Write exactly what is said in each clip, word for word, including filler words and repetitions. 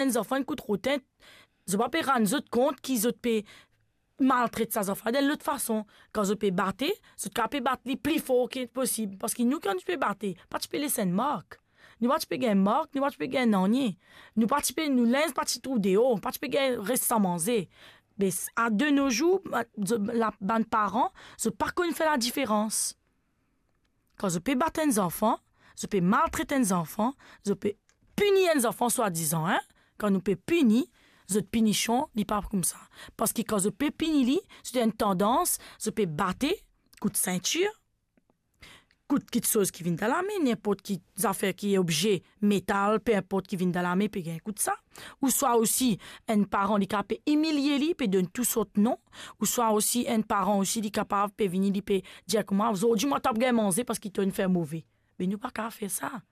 enn zanfan inn kout rotin, zot pa pe rann zot kont ki zot pe maltret sa zanfan dan lot fason. Kan zot pe bate, zot kapav pe bat li pli for ki posib. Parski nou, kan nou ti pe bate, pa ti pe les enn mark. Nou pa ti pe gagn mark, nou pa ti pe gagn nanye. Nou pa ti pe, nou linz pa ti trouv deor, pa ti pe gagn res san manze. Me s-, a de nos jours, ba-, zot, la, bann paran, zot pa konn fer ladiferans. Kan zot pe bat enn zanfan, zot pe maltret enn zanfan, zot pe pini enn zanfan swadizan, hein. Kan nou pe pini, zot pinision, li pa koumsa. Parski kan zot pe pini li, zot ena enn tandans, zot pe bate, kout sintir, kout kiksoz ki vinn dan lame, ninport ki zafer ki obze, metal, pe inport ki vinn dan lame, pe gagn kout sa. Ouswa osi, enn paran, li kapav pe imilie li, pe donn tou sort non. Ouswa osi, enn paran osi, li kapav pe vini, li pe dir kouma, "Zordi, mwa, to ap gagn manze parski to inn fer move." Me nou pa kapav fer sa.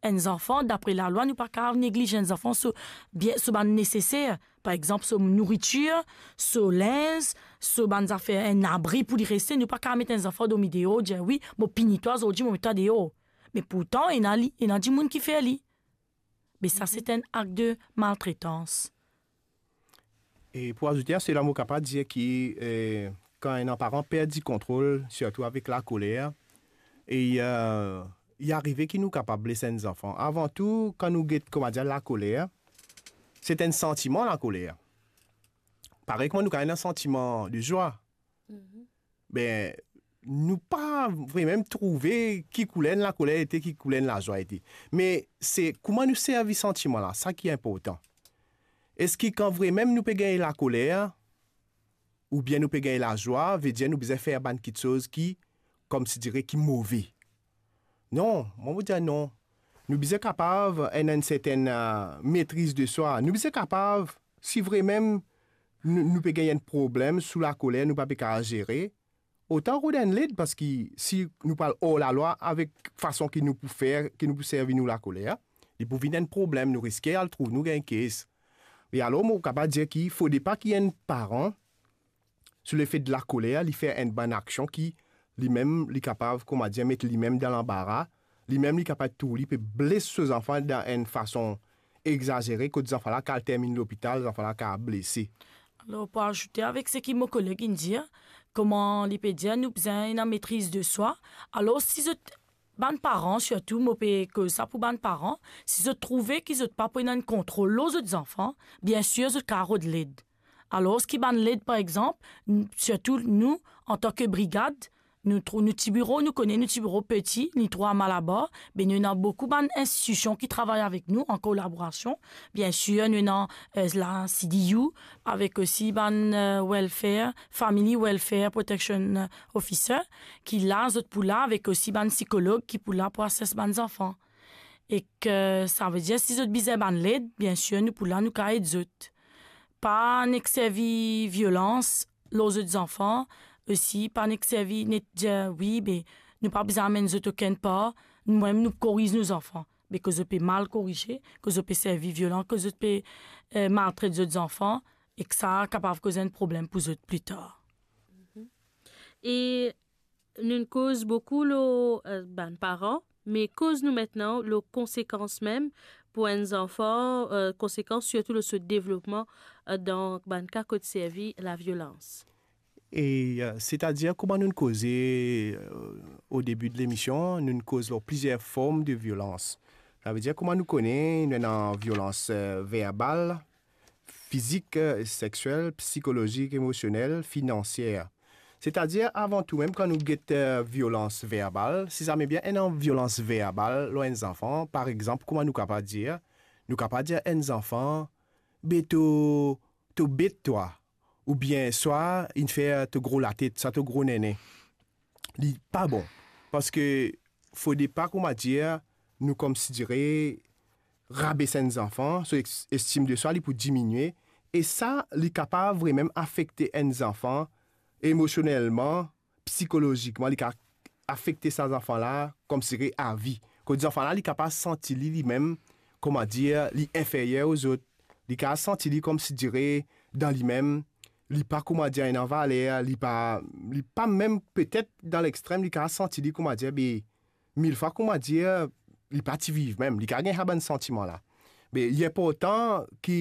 Enn zanfan, dapre lalwa, nou pa kapav negliz enn zanfan so bien, so bann neseser. Par exanp, so nouritir, so linz, so bann zafer, enn abri pou li reste. Nou pa kapav met enn zanfan dormi deor, dir, "Wi, mo pini twa zordi, mo met twa deor." Me pourtan, ena li, ena dimoun ki fer li. Me sa, se enn ak de maltretans. E pou azoute a sela, mo kapav dir ki, eh, kan enn paran perdi kontrol, sirtou avek lakoler, e, eh, li arive ki nou kapav bles enn zanfan. Avan tou, kan nou get, kouma dir, lakoler, se enn santiman, lakoler. Parey kouma nou kapav ena santiman de zwa. Be, nou pa vremem trouve ki kouler enn lakoler ete, ki kouler enn lazwa ete. Me se kouma nou servi santiman la, sa ki inportan. Eski kan vremem nou pe gagn lakoler, oubien nou pe gagn lazwa, vedir nou bizin fer bann kiksoz ki, koumsidire, ki move? Non, mwa, mo dir non. Nou bizin kapav ena enn sertenn, eh, metriz de swa. Nou bizin kapav, si vremem nou, nou pe gagn enn problem sou lakoler, nou pa pe kapav zere, otan rod enn led, parski si nou pe al or lalwa avek fason ki nou pou fer, ki nou pou servi nou lakoler, li pou vinn enn problem, nou riske al trouv nou gagn kes. E alor, mo kapav dir ki fode pa ki enn paran, sou lefet de lakoler, li fer enn bann aksion ki limem, li kapav, kouma dir, met limem dan lanbara, limem, li kapav tour, li pe bles so zanfan dan enn fason egzazere, kot zanfan la kapav terminn lopital, zanfan la kapav blese. Alor, pou azoute avek seki mo koleg inn dir, kouma li pe dir, nou bizin ena metriz de swa. Alor, si zot, bann paran, sirtou, mo pe koz sa pou bann paran, si zot trouve ki zot pa pou ena enn kontrol lor zot zanfan, biensir, zot kapav rod led. Alor, ki bann led, par exanp, n-, sirtou nou, antan ki brigad, nou trou-, nou ti biro, nou kone nou ti biro peti, li trwa Malabar, be nou ena boukou bann institision ki travay avek nou an kolaborasion. Biensir, nou ena, eh, la C D U, avek osi bann, eh, welfare, Family Welfare Protection, eh, Officer, ki la, zot pou la, avek osi bann sikolog ki pou la pou ases bann zanfan. Ek savedir, si zot bizin bann led, biensir, nou pou la, nou kapav ed zot. Pa nek servi violans lor zot zanfan, osi pa nek servi, nek dir, "Wi, be, nou pa bizin amenn zot okenn par, nou mem nou koriz nou zanfan." Be ke zot pe mal korize, ke zot pe servi violans, ke zot pe, eh, maltret zot zanfan, ek sa kapav koz enn problem pou zot pli tar. E nou koz boukou lor, eh, bann paran, me koz nou aster lor konsekans mem pou enn zanfan, eh, konsekans sirtou lor so devlopman, eh, dan bann ka kot servi laviolans. E, eh, setadir, kouma nou koze, eh, o debi de lemision, nou koz lor plizier form de violans. Savedir, kouma nou kone, nou ena violans, eh, verbal, fizik, eh, sexiel, psikolozik, emosionel, finansier. Setadir, avan tou mem, kan nou get, eh, violans verbal, si zame bien ena violans verbal lor enn zanfan, par exanp, kouma nou kapav dir, nou kapav dir enn zanfan, "Be to, to bet twa," oubien swa inn fer to gro latet, sa to gro nene. Li pa bon. Parski fode pa, kouma dir, nou konsidere rabes enn zanfan, so ex-, estim de swa li pou diminie, e sa, li kapav vremem afekte enn zanfan emosionelman, psikolozikman, li kapav afekte sa zanfan la, konsidere avi. Kot zanfan la, li kapav santi li, limem, kouma dir, li inferyer o zot, li kapav santi li konsidere dan limem, li pa, kouma dir, ena valer, li pa, li pa mem, petet dan lextrem, li kapav santi li, kouma dir, be, mil fwa, kouma dir, li pa ti viv mem, li kapav gagn sa bann santiman la. Me li inportan ki